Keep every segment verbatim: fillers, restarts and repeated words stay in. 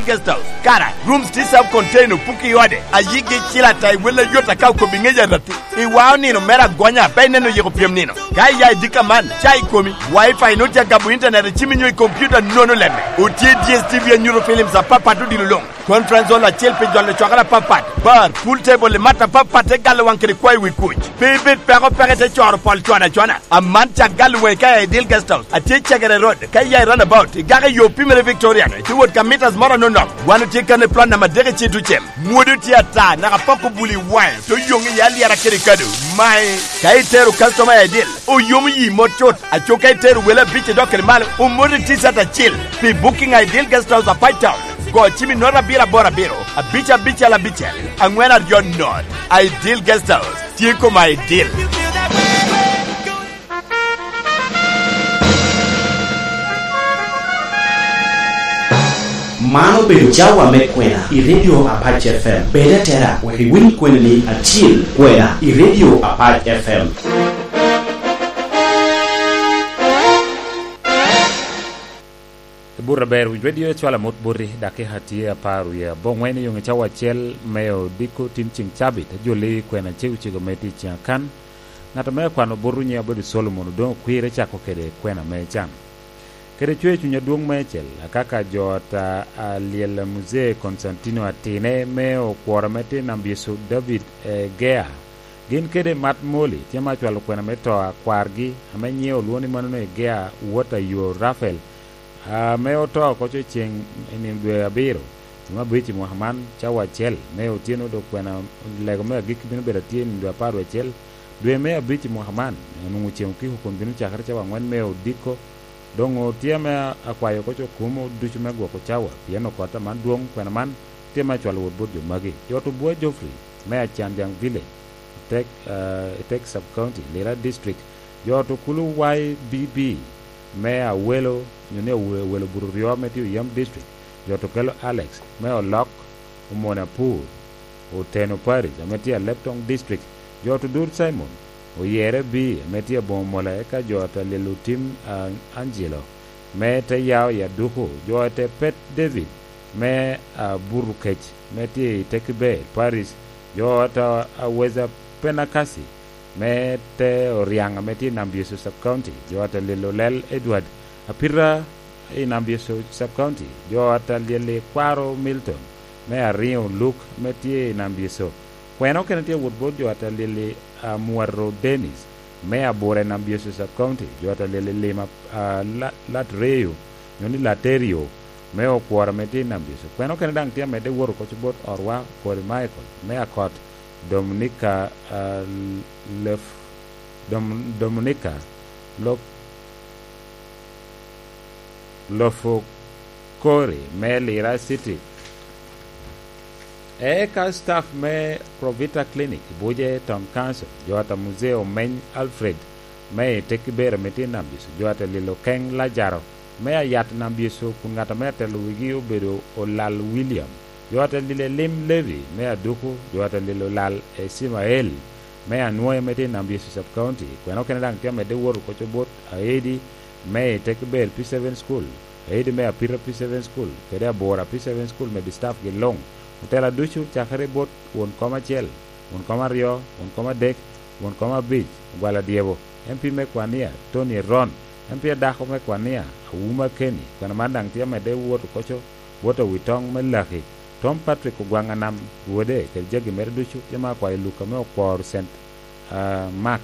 Guest House. Kara, rooms tye self contained, opuki i ode. Ayiggi icil ata i wel ayot aka okobo i ŋec aratti. Iwao nino mere agonya, pe ineno yiko pyem nino. Ka iya i dika man, ca i komi. Wi-Fi nwoŋo tye agabo internet i cimi nyo i computer, nono lemme. Otye D S T V anyuto films apapat odilo luŋ. Conference hall acel pi jolo cwakere apapat. Bar, pool table i mat apapat te galo waŋ kede kwayo wi kuc. Pe ibed peko peko ite coro pol cwana cwana. Aman cak galo waŋi ka iya i Dil Guest House. Atye i Cegere Road. Ka iya i runabout, igako i yo pimere Victorian, itye wot ka mitas moro anono. Wan otye kan i plot namba adek i Cito Cem. Mwodo tye ata, naka pok obuli i waŋe, te oyoŋ iye alyera kede kado. Mae, ka itero customer i Dil, oyomo yi mot cut. Aco ka itero wele abic i dok kede malo, omot i T-shirt acil. Pi booking i Dil Guest House, Apac Town, go cim i note abiro aboro abiro, abic abicel abicel, aŋwen aryo note. Ideal Guest House, tye koma Ideal. Man obedo cawa me kwena i Radio Apac F M. Bed atera, wek iwiny kwenani acil, kwena i Radio Apac F M. Buto aber, winyo redio ecwalo amot boti, dakika tye apar wie aboŋwen i yoŋe cawa acel me odiko tin ceŋ cabit, ajolli kwena cego cego me tic ceŋ akan. Ŋat ame akwano bot runye abedo Solomon, odoŋ okwire cako kede kwena me can. Kede cwer cuny adwoŋ meicel, akaka jo ata alyel a Muzee Konstantino atine me okworo ame tye namba Yecu David Egea, gin kede Mat Moli tye ma acwalo kwena me to a kwargi ame nyiŋe olwoŋo ni manono Egea wot a yo Rafael, ame oto oko co ceŋ i nino dwe abiro, dwe me abic i mwaka man, cawa acel me otyeno, dok kwena lego me agikki bino bedo atye i nino dwe apar wie acel, dwe me abic i mwaka man, onwoŋo ceŋ okiko kun bino cakere cawa aŋwen me odiko. Doŋ otye ame akwayo oko co kumo ducu me gwoko cawa, pien okot aman dwoŋ, kwena man tye me acwalo wot bot jo magi. Jo to Bua Geoffrey me Acanjaŋ Village, Tek, eh, Tek Sub County, Lira District. Jo to kulu Y B B me Awelo, nyo ni Awe-, Awelo Buto Ryo ame tye Oyam District. Jo to kelo Alex me Olok, Omone Apur, Oteno Parish, ame tye Aleptong District. Jo to Dur Simon, Oyere B, ame tye Aboŋo Mola, eka jo to Lilo Tim, ah, Angelo, me te Yao i Aduku. Jo te Pet David, me, ah, Burukec, me tye i Tekibel Parish. Jo to Aweza Penakasi, me te Oriaŋ, ame tye i Nambyecu Sub County. Jo to Lilo Lel Edward, Apita i Nambyecu Sub County. Jo to Lili Kwaro Milton, me Ariŋo Luk, me tye i Nambyecu. Kwena okene tye wot bot jo to Lili, ah, Mwato Dennis, me Abura i Nambyecu Sub County. Jo to Lili Lima, ah, La-, Latreyo, nyo ni Laterio, me Okworo ame tye i Nambyecu. Kwena okene daŋ tye amedde wot oko co bot Orwa Kori Michael, me Akot, Dominica, ah, Lef-, Dom-, Dominica, Lok-, Lofo Kori, me Lira City. Eka staff me Provita Clinic, Buje Town Council, jo ata Muzee Omeny Alfred, me i Tekibera ame tye i Nambyecu, jo ata Lilo Keng Lajaro, me Ayat Nambyecu, kun ŋat ame atelo wigi obedo Olal William, jo ata Lilo Elim Levi, me Aduku, jo ata Lilo Olal Ecimael, me Anwoy ame tye i Nambyecu Sub County. Kwena okene daŋ tye amedde wot oko co bot Aedi, me i Tekibel P seven School, Aedi me Apita P seven School, kede Abura P seven School, medi staff gi luŋ. Otela ducu, cakere bot won kom acel, won kom aryo, won kom adek, won kom abic, Ogwal Adyebo, M P me Kwania, Tony Eron, M P adako me Kwania, Awuma Kenny, kwena man daŋ tye amedde wot oko co bot Awitoŋ me Laki, Tom Patrick Ogwaŋ Anam, wode, kede jagi mere ducu, tye ma akwayo Luka me Okwor Saint, ah, Mark,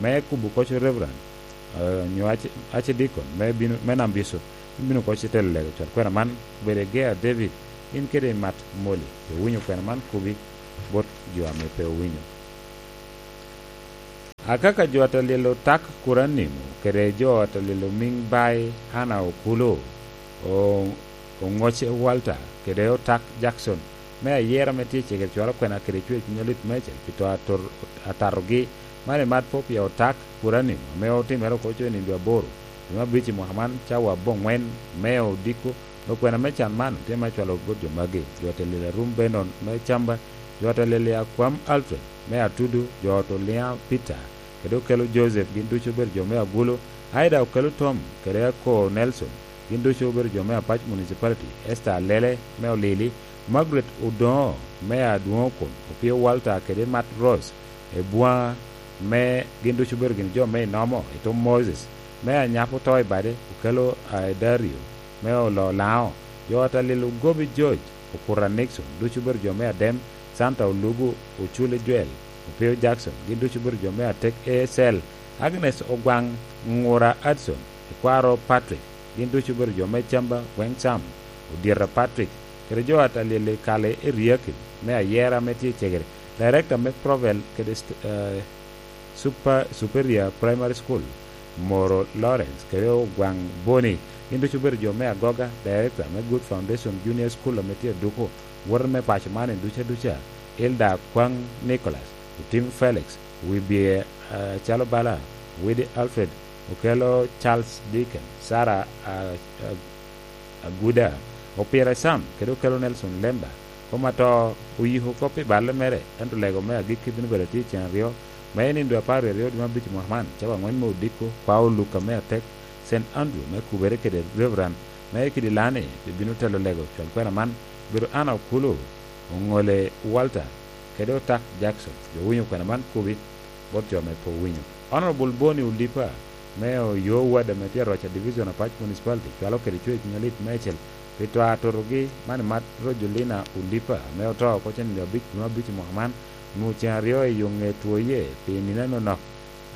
me kubo oko co Reverend, ah, nyo Arch-, Archdeacon me bino, me Nambyecu, me bino oko co telo lego cwal kwena man, obedo Egea David, in kede Mat Moli, owinyo kwena man, kubi bot jo ame pe owinyo. Akaka jo ata Lilo Tak Kuranimo, kede jo ata Lilo Miŋ Bai Hana Okulo, o-, Oŋoce Walter, kede Otak Jackson, me ayera ame tye i cegere cwalo kwena kede cwer cuny alit meicel pi to ator-, atatogi, man i Mat Popia Otak Kuranimo, ame otimere oko co i nino dwe aboro, dwe me abic i mwaka man, cawa aboŋwen me odiko, dok kwena me can man tye me cwalo bot jo magi, jo ata Lilo Arum Benon me Camba, jo ata Lilo Akwam Alfred me Atudu, jo ata Olia Peter, kede Okelo Joseph, gin ducu obedo jo me Agulu, Aida Okelo Tom, kede Ako Nelson, gin ducu obedo jo me Apac Municipality, Esther Alele me Olili, Margaret Odoŋo me Adwoŋokun, Opio Walter kede Matt Rose, Ebwaŋa me, gin ducu obedo gin jo me Inomo, Etom Moses me Anyap Oto i Bade, Okelo Aedario me Olo Laŋo, jo ot Alil Ogobi George, Okuta Nixon, ducu obedo jo me Adem, Santa Olugu, Oculi Joel, Opio Jackson, gin ducu obedo jo me Atek A S L, Agnes Ogwaŋ, Ŋura Adson, Ekwaro Patrick, gin ducu obedo jo me Camba, Weŋ Sam, Odyeta Patrick, kede jo ot Alil Kale Eriakim me Ayera ame tye i Cegere, Director me Provel kede st-, eh, Super-, Superior Primary School, Moro Lawrence, kede Ogwaŋ Boni, gin ducu obedo jo me Agoga, Director me Good Foundation Junior School ame tye Aduku, wote me paco man i duca duca, Hilda Kwaŋ Nicholas, Otim Felix, Wibie, eh, Calo Bala, Widi Alfred, Okelo Charles Deacon, Sarah, ah, ah, Aguda, Opira Sam, kede Okelo Nelson Lemba. Kom ato oyiko kop i balle mere, ento lego me agikki bino bedo atye i cen aryo, me i nino dwe apar wie aryo dwe me abic mwaka man, cawa angwen me odiko, kwao Luka me Atek, Saint Andrew me Kubere kede Reverend me Kidilani, bibino telo lego cwal kwena man, obedo Anna Okulu, Oŋole Walter, kede Otak Jackson. Jo winyo kwena man kubi bot jo ame pe owinyo. Honorable Boni Olipa me Oyo Ward ame tye Aroca Division, Apac Municipality, cwalo kede cwec nyolit meicel pi to atotogi man i mat Rojolina Olipa ame oto oko cen nino abic dwe abic i mwaka man, onwoŋo cen aryo i yo ŋe two ye pi nino nonok.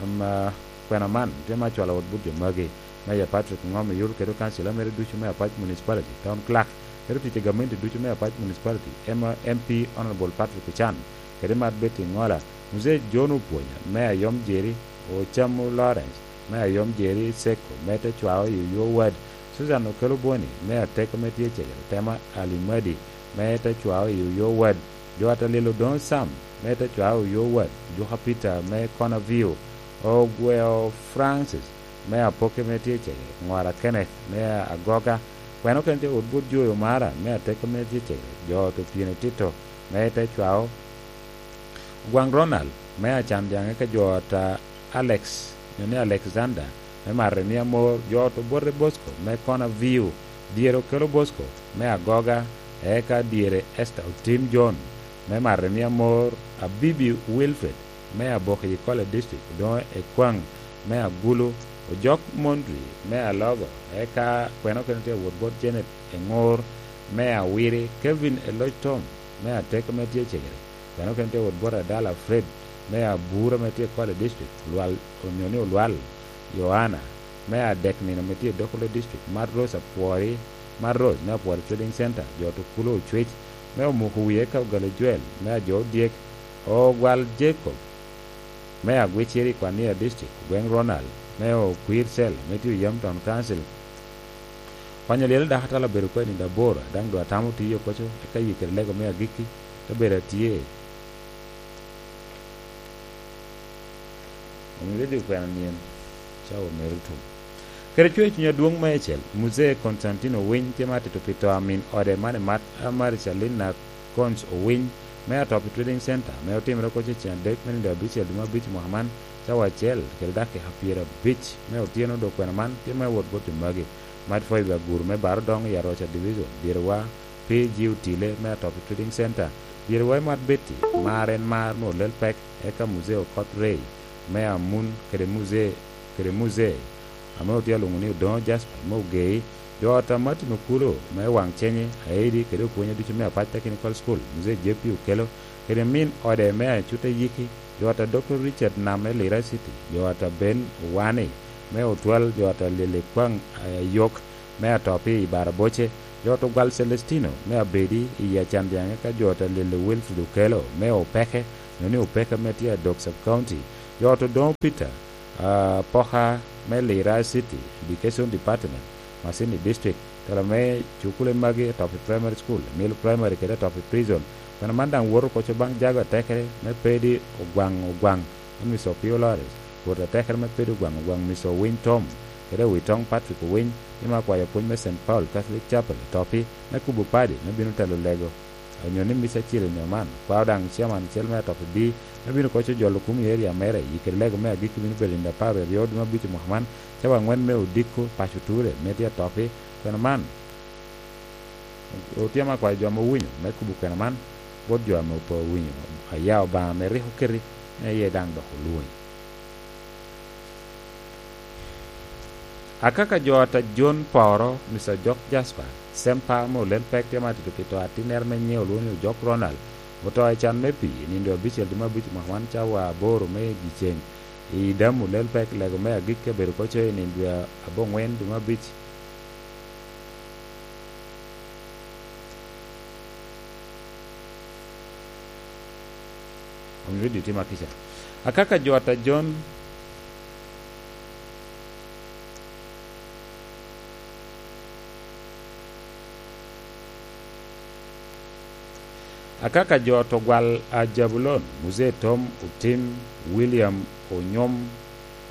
Am, ah, kwena man tye me acwalo wot but jo magi. Meja Patrick Ngom Oyur kede okancila mere ducu me Apac Municipality, Town Clerk, kede otic i gamente ducu me Apac Municipality, M-, M P Honorable Patrick Ochan, kede Mat Betty Ŋola, Muzee John Opwonya me Ayom Jeri, Ocamu Lawrence me Ayom Jeri Seko me te cwao i Oyo Ward, Susan Okelo Boni me Ateko me tye Cegere, Tema Alimadi me te cwao i Oyo Ward, jo ot Alil Odoŋo Sam me te cwao i Oyo Ward, Juka Peter me Kona View, Ogweo Francis me Apoke me tye Cegere, Ŋora Kenneth me Agoga, kwena okene tye wot bot Joy Omara me Ateko me tye Cegere, jo ot Opyeni Tito me te cwao, Ogwaŋ Ronald me Acan Jaŋe ka jo ot a Alex, nyo ni Alexander me Maremi Amor, jo ot Obote Bosco me Kona View, dyere Okelo Bosco me Agoga, eka dyere Esther Otim John me Maremi Amor, Abibi Wilfred me Aboki College District, Odoŋo Ekwaŋ me Agulu, Ojok Mondri me Alogo, eka kwena okene tye wot bot Janet Eŋor me Awiri, Kevin Eloc Tom me Ateko me tye Cegere, kwena okene tye wot bot Adala Fred me Abura me tye Kole District, Olwal, onyo ni Olwal Yohana me Adek Nino me tye Dokolo District, Mat Rose Apwori, Mat Rose me Apwori Trading Center, jo ot Okulo Ocwec me Omuko Wiye ka Ogalo Joel me Ajo Odyek, Ogwal Jacob me Agwiciri Kwania District, Ogweng Ronald me Okwir Cell me tye Oyam Town Council, Kwanyo lyel dako atalo abedo koni i Dabora, daŋ doŋ atamo tiyo koco, eka yikere lego me agikki, te bedo atye. Omio didi okwena nien, cawa mere otum. Kede cwer cuny adwoŋ meicel, Muzee Constantino Owiny tye ma atito pi to a min ode man i mat, a Maricalina Cons Owiny, me Atopi Trading Center, ame otimere oko cecen adek me nino abicel dwe me abic mwaka man, cawa acel kede dakika pyerabic me otyeno, dok kwena man tye me wot bot jo magi. Mat Foibe Aguru me Baro Doŋ i Aroca Division, dyerewa P G Otile me Atopi Trading Center, dyerewa i Mat Betty, mar en mar me olel pek, eka Muzee Okot Rey me Amun kede Muzee, kede Muzee ame otye alwoŋo ni Odoŋo Jasper me Ogei, jo ot a Martin Okulo me Waŋ Cenye, Aidi kede opwonye ducu me Apac Technical School, Muzee J P Okelo, kede min ode me Acuta Yiki, jo ot a Doctor Richard Nam me Lira City, jo ot a Ben Owani me Otwal, jo ot a Lili Kwaŋ Ayok me Atopi i Baraboce, jo ot Ogwal Celestino me Abedi i Acan Jaŋe, ka jo ot a Lili Wilfred Okelo me Opeke, nyo ni Opeke me tye Adok Sub County, jo ot Odoŋo Peter, ah, Poka me Lira City Education Department, Masini District, tela me cukule magi Atopi Primary School, Mill Primary kede Atopi Prison. Kwena man daŋ woto koco baŋ jago atekere me Pedi Ogwaŋ Ogwaŋ, en Mister Opio Lawrence, wot atekere me Pedi Ogwaŋ Ogwaŋ, Mister Owiny Tom, kede Owitoŋ Patrick Owiny, ame akwayo pwony me Saint Paul Catholic Chapel, Atopi, me kubo padi me bino telo lego, onyo ni Mister Chili nyo man, kwao daŋ chairman acel me Atopi B, me bino koco jolo kumo i area mere, i kede lego me agikki bino bedo nino apar aryo dwe me abic mwaka man, cawa angwen me odiko, paco ture, me tye Atopi, Kwena man, otye ame akwayo jo ame owinyo me kobo kwena man bot jo ame pe owinyo, aya Obaŋa ame rik oketi, me iye daŋ dok olwoŋi. Akaka jo ata John Poro, Mister Ojok Jasper, Sempa ame olel pek tye ma atito pi to atinnere me nyiŋe olwoŋo ni Ojok Ronald, oto i can me pii i nino dwe abicel dwe me abic mwaka man cawa aboro me dyeceŋ. I Damu lel pek lego me agikki abedo koco i nino dwe aboŋwen dwe me abic. Omio redio tye ma kica. Akaka jo ata John, akaka jo ata Ogwal a Jabulon, Muzee Tom Otim, William Onyom,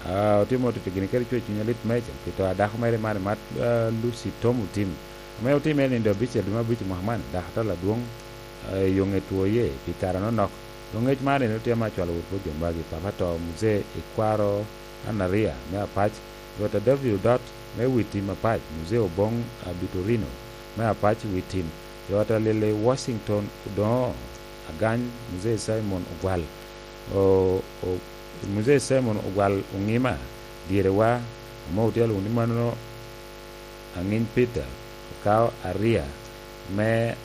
a, otimo tito gini kede cwer cuny alit meja, pi to a dako mere man i mat, a, Lucy Tom Otim. Ame otimme i nino abicel dwe me abic i mwaka man, dako atal adwoŋ, eh, i yo ŋe two ye pi kare anonok. Doŋ ŋec man ene otye ame acwalo wot bot jo magi, papa to, Muzee Ikwaro Anaria me Apac, Rwot a David Odot me wi tim Apac, Muzee Oboŋ Abitorino me Apac wi tim, Rwot a Lili Washington Odoŋo Agany, Muzee Simon Ogwal, o, o, Muzee Simon Ogwal Oŋima, dyerewa, ame otye alwoŋo ni mano Aŋiny Peter, okao Aria me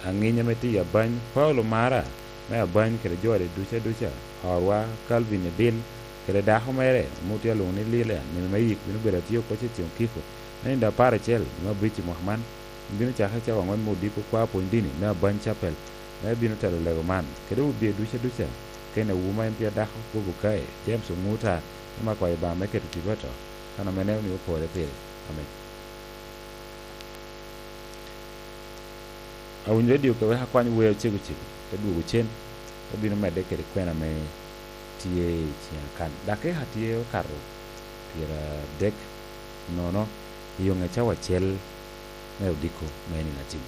Aŋiny ame tye i Abany, Paulo Mara me Abany kede jo ade duca duca, orwa Calvin Edil kede dako mere ame otye alwoŋo ni Lilian, nino me yik bino bedo atye oko Ceciŋ Okiko, me nino apar acel me abic i mwaka man, bino cake cawa aŋwen me odiko kwa pwony dini me Abany Capel, me bino telo lego man, kede wun bye duca duca, kene wu ma en tye dako kobo kae, James Oŋuta, ame akwayo Obaŋa me keto tipo ato, kan ame neno ni opore pire. Amen. Awinyo redio ka wek akwany wer cego cego, te dwogo cen, te bino medde kede kwena ame tye i ciŋa kan. Dakika tye okato pyeradek nono i yo ŋe cawa acel me odiko me nino acel.